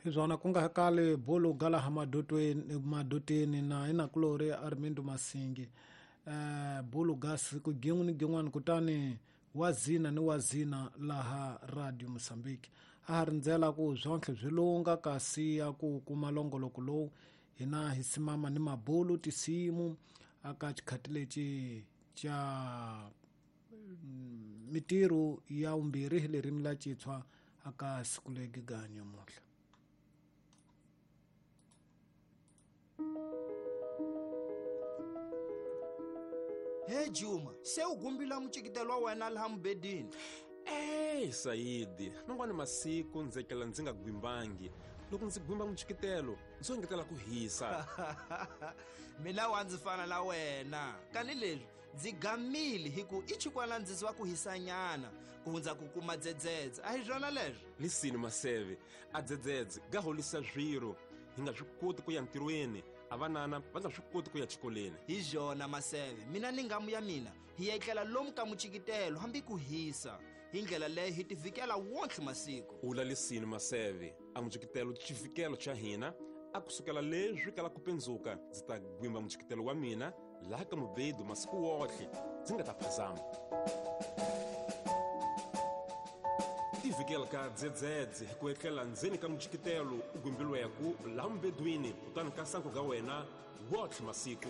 Hi swona ku nga kali bulu galaha madotweni na inakulori Armindo Masingi. Bulu ga siku gin'we ni gin'wana kutani wazina ni wazina laha Radio Mozambique. A ha rindzela ku swontlhe swi lunga kasi ya ku kuma longoloko lowu hina hi simama ni mabulu tisimu aka xikhati lexi xa mitirho ya vumbirhi hi ririmi la Xitswa aka siku legi ga nyamuhla. He Juma, se u gumbila mucikitelo wa wena laha mubedini. Ey Saidi, man'wani masiku ndzi etlela ndzi nga gwimbangi. Loko ndzi gwimba mucikitelo, ndzi engetela ku hisa. Mina wa ndzi fana na wena. Kani leswi ndzi gamile hi ku i chikwana ndzi wa ku hisanyana ku hundza ku kuma dzedzedze. A hi swona leswo? Lisini Maseve, a dzedzedze ga holisa swiro. Hi nga swi koti ku ya ntirhweni, a vanana va nga swi koti ku ya xikolweni. Hi byona Maseve, mina ni ngamu ya mina hi etlela lomu ka mucikitelo hambi ku hisa. Hi ndlela leyo hi tivikela wontlhe masiku. Ula lisini Maseve, a mucikitelo xivikelo xa hina a kusukela leswi kala ku pendzuka ndzi ta gwimba mucikitelo wa mina laha ka mubedu masiku wotlhe ndzi nga ta phazama. Tivikela ka dzedzedze hi ku etlela ndzeni ka mucikitelo u gwimbilweku laha mubedwini kutani ka sanku ga wena wotlhe masiku.